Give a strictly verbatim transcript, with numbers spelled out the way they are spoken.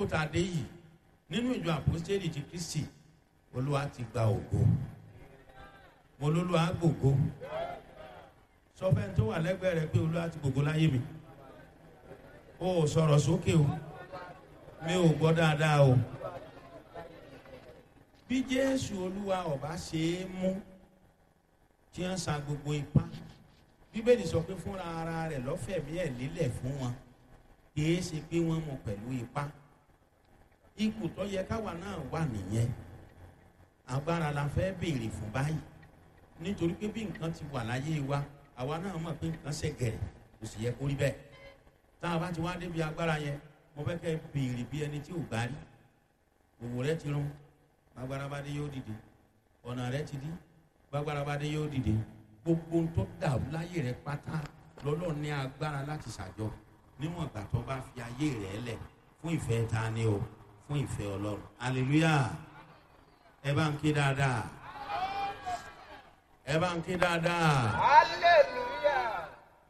Tá a dé yìí nínú ìjọ Àpòstélì ti Kristi, Olúwa ti gba ògo. Mo lólúwa gbògo. Sọ fẹ́ni tó wà lẹ́gbẹ̀ẹ́ rẹ pé Olúwa ti gbògo láyé mi. O ò sọ̀rọ̀ sókè o. Mi ò gbọ́ dáadáa o. Bí Jésù Olúwa ọba ṣe é mú tí wọ́n sa gbogbo ipá, Bíbélì sọ pé fúnra ara rẹ̀ lọ́fẹ̀mí ẹ̀ lélẹ̀ fún wọn, kì í ṣe pé wọ́n mú pẹ̀lú ipá. Ipò tó yẹ káwa náà wà nìyẹn. Agbára la fẹ́ béèrè fún báyìí, nítorí pé bí nǹkan ti wà láyé wa, àwa náà mọ̀ pé nǹkan ṣe gẹ̀rẹ̀, kò sì yẹ kó rí bẹ́ẹ̀. Tá a bá ti wá débi agbára yẹn, mo fẹ́ kẹ́ béèrè bí ẹni tí ò gbá rí. Òwò rẹ ti rún, gbàgbára bá dé, yóò dìde. Ọ̀nà rẹ ti dí, gbàgbára bá dé, yóò dìde. Gbogbo ohun tó dàrú láyé rẹ pátá lọ́lọ́ ní agbára láti ṣàjọ, níwọ̀n ìgbà tó bá fi ayé rẹ lẹ̀ fún ìfẹ́ ta ni o, fún ìfẹ́ Ọlọ́run. Hallelujah! Ẹ bá ń ké dáadáa. Ẹ bá ń ké dáadáa. Hallelujah.